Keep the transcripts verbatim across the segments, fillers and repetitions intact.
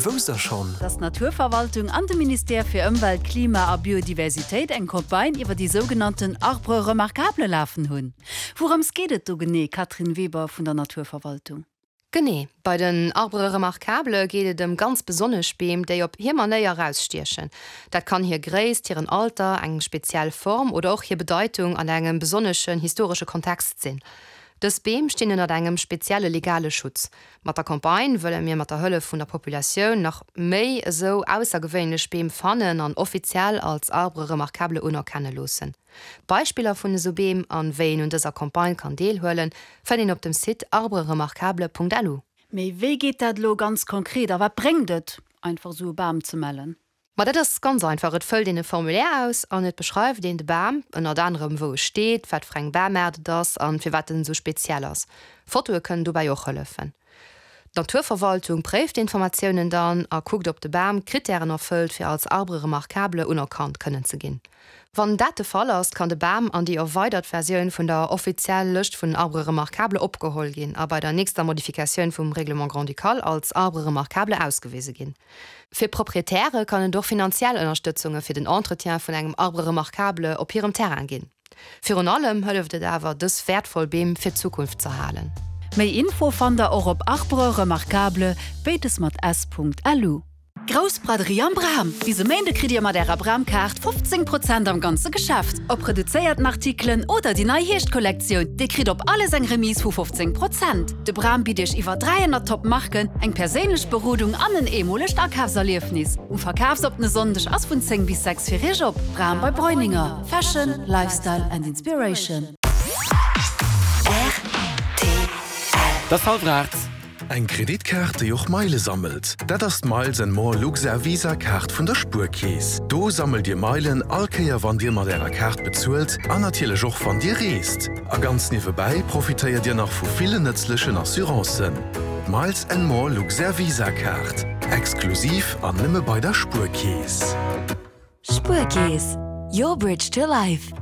Wousst der schonn? Dass d'Naturverwaltung an de Ministère fir Ëmwelt, Klima a Biodiversitéit eng Campagne iwwer déi sougenannten Arbres remarquables lafen hunn? Wourëms geet et do genee, Catherine Weber vun der Naturverwaltung? Genee, bei den Arbres remarquables geet et ëm ganz besonnesch Beem, déi op hir Manéier erausstiechen. Dat kann hir Gréisst, hiren Alter, eng speziell Form oder och hir Bedeitung an engem besonneschen historesche Kontext sinn. Dës Beem stinn ënnert engem spezielle legale Schutz. Mat der Campagne wëlle mir mat der Hëllef vun der Populatioun nach méi esou aussergewéinlech Beem fannen an offiziell als Arbre remarquable unerkenne loossen. Beispiller vun esou Beem an wéi een un dëser Campagne kann deelhuelen, fënnt een op dem Site arbreremarquable.lu. Mee wéi geet dat elo ganz konkret a wat bréngt et, einfach esou e Bam ze mellen? Ma dat ass ganz einfach, et fëllt een e Formulaire aus an et beschreift een de Bam, ënnert anerem wou e steet, wat fir eng Bamaart et ass an firwat en esou speziell ass. Fotoe kënnen dobäi och hëllefen. D'Naturverwaltung préift d'Informatiounen dann a kuckt ob de Bam d'Krittären erfëllt fir als Arbre remarquable unerkannt kënnen ze ginn. Wann dat de Fall ass, kann de Bam an déi erweidert Versioun vun der offizielle Lëscht vun Arbres remarquables opgeholl ginn a bei der nächster Modifikatioun vum Règlement grand-ducal als Arbre remarquable ausgewise ginn. Fir Proprietäre kann et och finanziell Ënnerstëtzunge fir den Entretien vun engem Arbre remarquable op hirem Terrain ginn. Virun allem hëlleft et awer, dës wäertvoll Beem fir d'Zukunft z'erhalen. Méi Info fannt der och op arbreremarquable, béides mat s, .lu. Grouss Braderie am Bram! Bis e Méinde kritt Dir mat Ärer Bram-Kaart fofzéng Prozent am ganze Geschäft. Ob reduzéierten Artikelen oder déi nei Hierschtkollektioun, Dir kritt op alles eng Remise vu fofzéng Prozent. De Bram bitt Iech iwwer dräihonnert Top Marken, eng perséinlech Berodung an en eemolegt Akafserliefnis. Um verkafsoppene Sonndeg ass vun zéng bis sechs fir Iech op. Bram bei Breuninger, Fashion, Lifestyle and Inspiration. Et ass hallwer aacht. Eng Kreditkaart, déi och Meile sammelt? Dat ass d'Miles and More Luxair Visa Kaart vun der Spuerkeess. Do sammelt Dir Meilen all Kéier wann Dir mat Ärer Kaart bezuelt an natierlech och wann Dir reest. A ganz niewebäi profitéiert Dir nach vu villen nëtzlechen Assurancen. D'Miles and More Luxair Visa Kaart, exklusiv an nëmme bei der Spuerkeess. Spuerkeess, your bridge to life.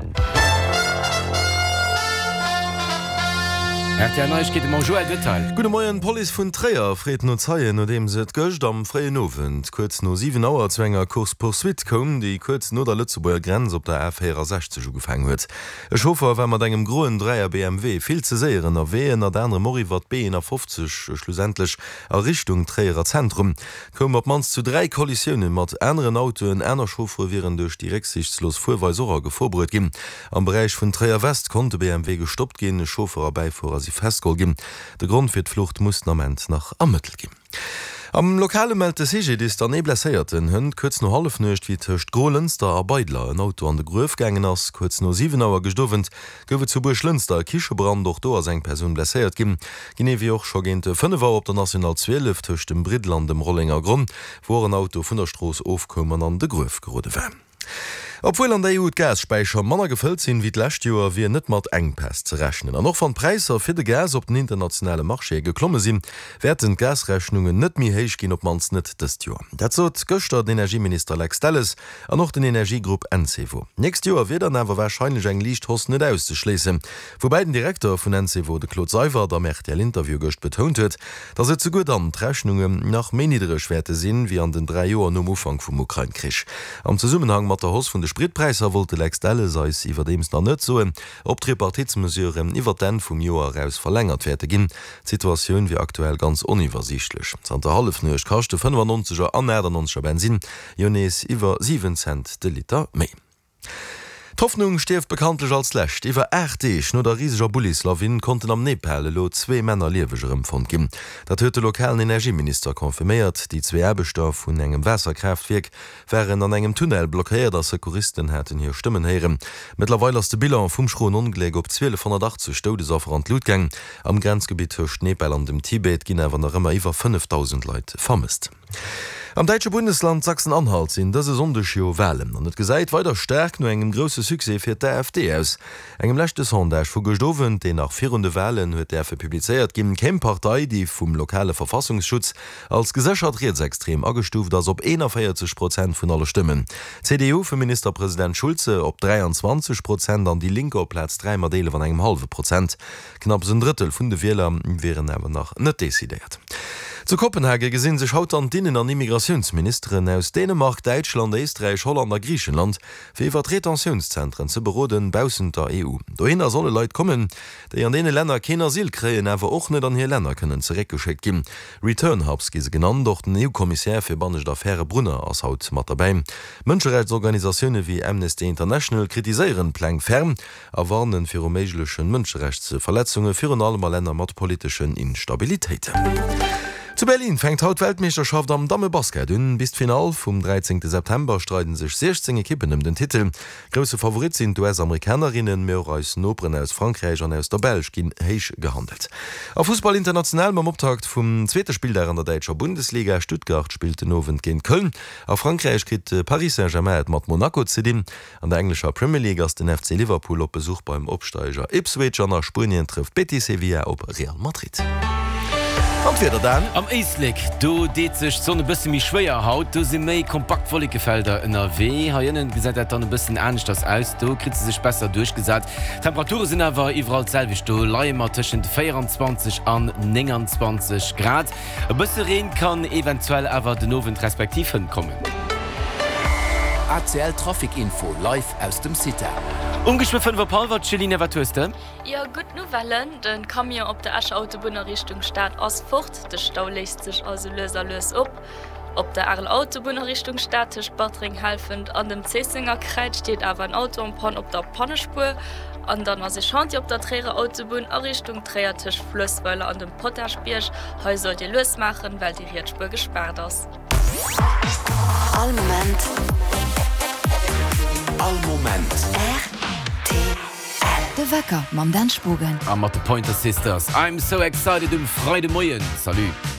R T L Neiegkeete mam Joël Detail. Gudde Moien, D'Police vun Tréier freet no Zeien, nodeems et gëscht am fréien Owend kuerz no siwen Auer zu enger Course-poursuite koum, déi kuerz no der Lëtzebuerger Grenz op der A véierasechzeg ugefaangen huet. E Chauffer war mat engem groen Dräier B M W vill ze séier ënnerwee, ënnert anerem och iwwer d'B eenafofzeg, schlussendlech a Richtung Tréierer Zentrum. Et koum op d'mannst zu dräi Kollisioune mat aneren Autoen. Aner Chauffere wieren duerch déi récksiichtslos Fuerweis och a Gefor bruet ginn. Am Beräich vun Tréier-West konnt de B M W gestoppt ginn, e Chauffer a Bäifuerer si festgeholl ginn. De Grond fir d'Flucht muss den Ament nach ermëttelt ginn. Am Lokale mellt de C G D I S dann ee Blesséierten. Hënt kuerz no Hallefnuecht, wéi tëscht Grolënster a Beidler en Auto an de Gruef gaangen ass. Kuerz no siwen Auer gëscht Owend gouf et zu Buerglënster e Kichebrand. Och do ass eng Persoun blesséiert ginn. Genee wéi och scho géint fënnef Auer op der National zwielef tëscht dem Briddel an dem Rollengergronn, wou och en Auto vun der Strooss ofkoum an an de Gruef gerode war. Obwuel an der E U d'Gasspäicher manner gefëllt sinn wéi d'lescht Joer, wier net mat Enkpäss ze rechnen. An och wann d'Präisser fir de Gas op den internationale Marchéë geklomme sinn, wäerten d'Gasrechnungen net méi héich ginn, op d'mannst net dëst Joer. Dat sot gëschter den Energieminister Lex Delles an och den Energiegrupp Encevo. D'nächst Joer wier dann awer warscheinlech eng liicht Hausse net auszeschléissen. Woubäi den Direkter vun Encevo, de Claude Seywert, am R T L-Interview gëscht betount huet, datt et souguer dann d'Rechnungen nach méi niddereg wäerte sinn, wéi an den dräi Joer nom Ufank vum Ukrain-Krich. Am Zesummenhang mat der Hausse vun de Spritpräisser wollt de Lex Delles eis iwwerdeems nach net soen, ob d'Tripartitsmesuren iwwer d'Enn vum Joer eraus verlängert wäerte ginn. D'Situatioun wier aktuell ganz oniwwersiichtlech. Zanter Hallefnuecht kascht de fënnefannonzeger an achtannonzeger Bensinn jo nees iwwer siwen Cent de Liter méi. D'Hoffnung stierft bekanntlech als Lescht. Iwwer aacht Deeg no der riseger Bullislawin konnten am Nepal elo zwee Männer lieweg erëmfonnt ginn. Dat huet de lokalen Energieminister confirméiert. Déi zwee Aarbechter vun engem Waasserkraaftwierk waren an engem Tunnel blockéiert a Secouristen haten hir Stëmmen héieren. Mëttlerweil ass de Bilan vum schroen Ongléck op zwielefhonnertachtzeg Doudesaffer an d'Lut gaang. Am Grenzgebitt tëscht Nepal an dem Tibet ginn awer nach ëmmer iwwer fënnefdausend Leit vermësst. Am däitsche Bundesland Sachsen-Anhalt sinn dëse Sonndeg jo Walen an et gesäit weider staark no engem grousse Succès fir d'A F D aus. Engem leschte Sondage vu gëscht Owend, deen nach virun de Walen huet däerfe publizéiert ginn, kéim d'Partei, déi vum lokale Verfassungsschutz als geséchert rietsextrem agestuuft ass, op eenanvéierzeg Prozent vun alle Stëmmen. D'C D U vum Ministerpresident Schulze op dräianzwanzeg Prozent an déi Linke op Plaz dräi mat eelef an engem hallwe Prozent. Knapps en Drëttel vun de Wieler wieren awer nach net decidéiert. Zu Kopenhage gesinn sech haut dann d'Innen an Immigratiounsministeren aus Dänemark, Däitschland, Éisträich, Holland a Griichenland, fir iwwert Retentiounszentren ze beroden, baussent der E U. Dohinner solle Leit kommen, déi an deene Länner keen Asyl kréien, awer och net an hir Länner kënnen zeréckgeschéckt ginn. Return Hubs gi se genannt. Och den E U-Kommissär fir bannescht Affäre Brunner ass haut mat derbäi. Mënscherechtsorganisatioune wéi Amnesty International kritiséieren d'Pläng ferm a warnen viru méigleche Mënscherechtsverletzunge, virun allem a Länner mat politeschen Instabilitéiten. Zu Berlin fänkt haut d'Weltmeeschterschaft am Dammebasket un. Bis d'Finall vum dräizéngte September streiden sech siechzéng Ekippen ëm den Titel. Grousse Favorit sinn d'U S-Amerikanerinnen, mee och eis Noperen aus Frankräich an aus der Belsch ginn héich gehandelt. A Fussball international mam Optakt vum zweete Spilldag an der däitscher Bundesliga. Stuttgart spillt den Owend géint Köln. A Frankräich kritt Paris Saint-Germain et mat Monaco ze dinn. An der englescher Premier League ass den F C Liverpool op Besuch beim Opsteiger Ipswich an a Spuenien trëfft Betis Sevilla op Real Madrid. An d'Wieder dann? Am Éislek, do deet sech d'Sonn e bësse méi schwéier haut, do si méi kompakt Wollekefelder ënnerwee. Hei ënnen gesäit dat dann e bëssen aneschters aus, do kritt se sech besser duerchgesat. D'Temperature sinn awer iwwerall d'selwecht, do leie mer tëschent véieranzwanzeg an nénganzwanzeg Grad. E bësse Reen kann eventuell awer den Owend respektiv hënt kommen. A C L Trafic Info live aus dem CITA. Um geschwë fënnef op hallwer, Céline, wat hues de? Jo, gutt Nouvellen, De Camion op der Escher Autobunn a Richtung Stad ass fort, de Stau léist sech also lues a lues op. Op der Areler Autobunn a Richtung Stad tëscht Bartreng-Helfent an dem Zéissenger Kräiz steet awer en Auto en panne op der Pannespuer. An dann ass e Chantier op der Tréierer Autobunn a Richtung Tréier tëscht Fluessweiler an dem Potaschbierg. Hei sollt Dir lues maachen, well déi riets Spuer gespaart ass. All Moment. All Moment. R T L. De Wecker mam Dan Spogen. A mat de Pointer Sisters. I'm so excited um Freidemoien. Salut.